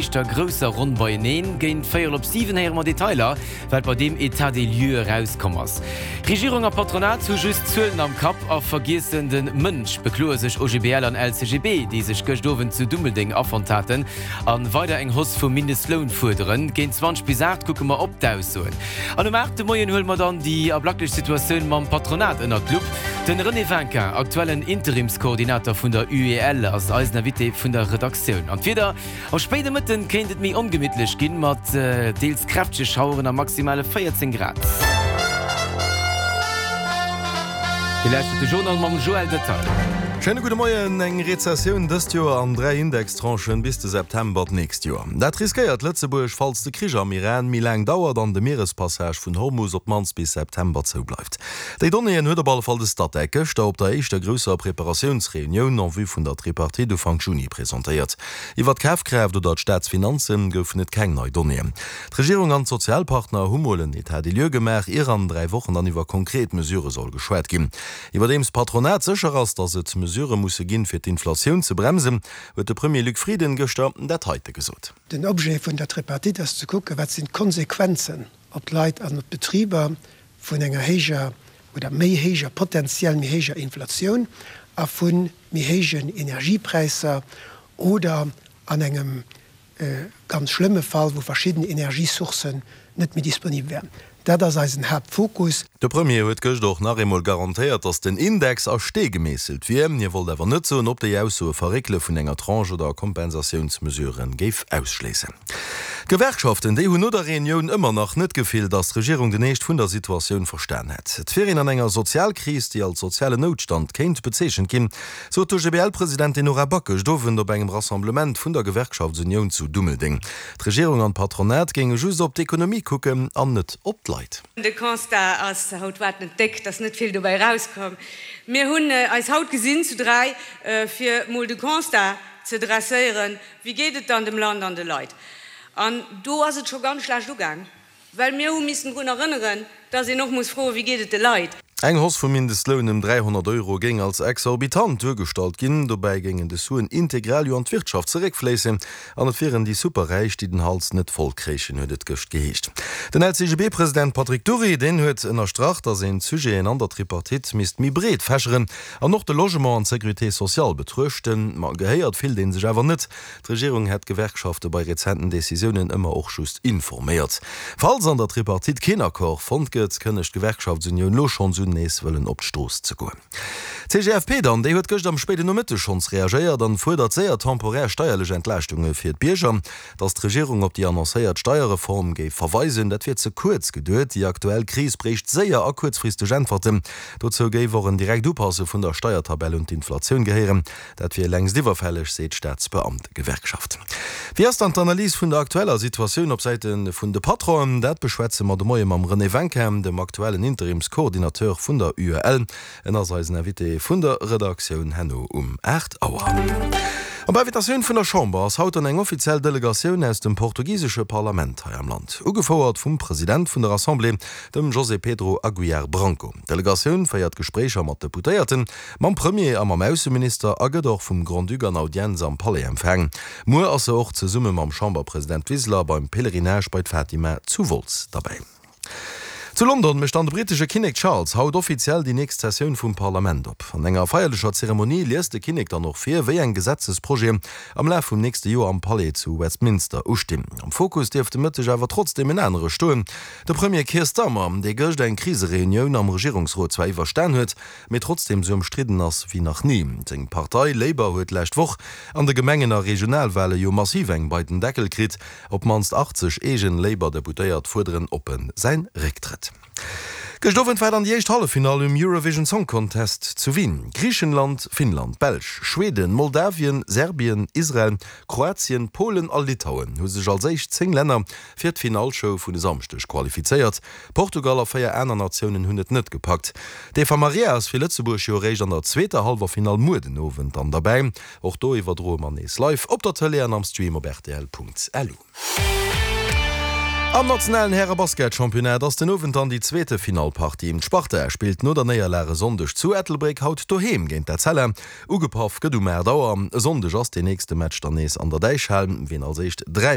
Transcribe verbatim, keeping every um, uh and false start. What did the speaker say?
Éischter grousser Ronn beieneen. Géint véierel op siwen héiere mer Detailer, wat bei deem Etat des lieux erauskomm ass. Regierung a Patronat hu just Zuelen am Kapp a vergiessen de Mënsch, bekloe sech O G B L an L C G B, déi sech gëscht Owend zu Dummeldeng afonnt haten a weider eng Hausse vum Mindestloun fuerderen. Géint zwanzeg bis aacht kucke mer op d'Aussoen. An um aacht de Moien huele mer dann déi ablacklech Situatioun mam Patronat ënnert d'Lupp. Den René Winkin, aktuellen Interimskoordinator vun der U E L, ass eisen Invité vun der Redaktioun. An d'Wieder: Am spéide Mëtten kéint et méi ongemittlech ginn, mat deels kräftege Schaueren a maximale véierzéng Grad. Dir lauschtert de Journal mam Joël Detail. Schéine gudde Moien. Eng Rezessioun dëst Joer an dräi Indextranchen bis de September d'nächst Joer. Dat riskéiert Lëtzebuerg, falls de Krich am Iran méi laang dauert an de Mierespassage vun Hormus op d'mannst bis September zoubleift. Déi Donnéeën huet op alle Fall de Statec gëschter op der éischter grousser Preparatiounsreunioun en vue vun der Tripartite Ufank Juni presentéiert. Iwwer d'Kafkraaft oder d'Staatsfinanze goufen et keng nei Donnéeën. D'Regierung an d'Sozialpartner hu mol en État des lieux gemaach, ier an dräi Wochen dann iwwer konkret Mesurë soll geschwat ginn. Iwwerdeems d'Patronat sécher ass, datt et Mesurë musse ginn, fir d'Inflatioun ze bremsen, huet de Premier Luc Frieden gëschter dat heite gesot. Den Objet vun der Tripartite ass ze kucken, wat sinn d'Konsequenzen op d'Leit an op d'Betriber vun enger héijer oder méi héijer, potenziell méi héijer Inflatioun a vu méi héijen Energiepräisser oder an engem ganz schlëmme Fall, wou verschidden Energiesourcen net méi disponibel wären. Dat ass eisen Haaptfokus. De Premier huet gëscht och nach eemol garantéiert, datt den Index a Stee gemeesselt wier. Hie wollt awer net soen, ob déi Ausso e Verréckele vun enger Tranche oder Kompensatiounsmesurë géif ausschléissen. D'Gewerkschaften, déi hunn no der Reunioun ëmmer nach net d'Gefill, datt d'Regierung den Eescht vun der Situatioun verstan hätt. Et wier een an enger Sozialkris, déi als sozialen Noutstand kéint bezeechent ginn, sot d'O G B L-Presidentin Nora Back gëscht Owend op engem Rassemblement vun der Gewerkschaftsunioun zu Dummeldeng. D'Regierung an d'Patronat géinge just op d'Ekonomie kucken an net op d'Leit. De Constat ass haut war net déck, dass net vill dobäi rauskoum. Mir hunn eis haut gesinn zu dräi fir mol de Constat ze dresséieren, wéi geet et dann dem Land an de Leit. An do ass et scho ganz schlecht ugaang, well mir hu missen drun erënneren, dass een och muss froen, wéi geet et de Leit. Eng Hausse vum Mindestloun ëm dräihonnert Euro géing als exorbitant duergestallt ginn. Dobäi géingen des Suen integral jo an d'Wirtschaft zeréckfléissen an et wieren déi Superräich, déi den Hals net voll kréichen, huet et gëscht geheescht. Den L C G B-President Patrick Dury, deen huet ënnerstrach, datt een d'Sujeten an der Tripartite misst méi breet fächeren an och de Logement an d'Sécurité sociale betruechten. Ma gehéiert fillt ee sech awer net. D'Regierung hätt d'Gewerkschafte bei rezenten Decisiounen ëmmer och just informéiert. Falls an der Tripartite keen Accord fonnt gëtt, kënnegt d'Gewerkschaftsunioun lo schonns un, nees wëllen op d'Strooss ze goen. D'C G F P dann, déi huet gëscht am spéiden Nomëtteg schonns reagéiert an fuerdert séier temporär steierlech Entlaaschtunge fir d'Bierger. Datt d'Regierung op déi annoncéiert Steierreform géif verweisen, dat wier ze kuerz geduecht. Déi aktuell Kris bréicht séier a kuerzfristeg Äntwerten. Dozou géif och en direkt Upasse vun der Steiertabell un d'Inflatioun gehéieren. Dat wier längst iwwerfälleg, seet d'Staatsbeamtegewerkschaft. Wéi ass dann d'Analys vun der aktueller Situatioun op Säite vun de Patronen? Dat beschwätze mer de Moie mam René Winkin, dem aktuellen Interimskoordinateur vun der U E L. En ass eisen Invité vun der Redaktioun herno um aacht Auer. Op Invitatioun vun der Chamber ass haut dann eng offiziell Delegatioun aus dem portugisesche Parlament hei am Land, ugefouert vum President vun der Assemblée, dem José Pedro Aguiar Branco. D'Delegatioun féiert Gespréicher mat Deputéierten, mam Premier a mam Ausseminister a gëtt och vum Grand-Duc an Audienz am Palais empfaangen. Muer ass se och zesumme mam Chamberpresident Wiseler beim Pèlerinage bei d'Fatima zu Wolz derbäi. Zu London mécht dann de brittesche Kinnek Charles haut offiziell déi nächst Sessioun vum Parlament op. An enger feierlecher Zeremonie liest de Kinnek dann och vir, wéi eng Gesetzesprojeten am Laf vum nächste Joer am Palais zu Westminster ustinn. Am Fokus dierft de Mëtteg awer trotzdeem en anere stoen: De Premier Keir Starmer, dee gëscht eng Krisereunioun am Regierungsrot zwar iwwerstan huet, mee trotzdeem sou ëmstridden ass wéi nach ni. Seng Partei Labour huet d'lescht Woch an de Gemengen a Regionalwale jo massiv eng bei den Deckel kritt. Op d'mannst achtzeg eegen Labour-Deputéiert fuerderen oppen säi Récktrëtt. Gëscht Owend war dann déi éischt Halleffinall um Eurovision Song Contest zu Wien. Griichenland, Finnland, Belsch, Schweden, Moldawien, Serbien, Israel, Kroatien, Polen a Litauen hu sech als éischt zéng Länner fir d'Finalshow vun e Samschdeg qualifizéiert. Portugal a véier aner Natiounen hunn et net gepackt. D'Eva Maria ass fir Lëtzebuerg jo eréischt an der zweeter Halleffinall muer den Owend dann derbäi. Och do iwwerdroe mer nees live op der Tëlee an am Stream op R T L Punkt L U. Am nationalen Häre-Basket-Championnat ass den Owend dann déi zweete Finalpartie. D'Sparta spillt no der Néierlag e Sonndeg zu Ettelbréck haut doheem géint d'Etzella. Ugepaff gëtt um aacht Auer. E Sonndeg ass den nächste Match dann nees an der Däichhal. Wien als éischt dräi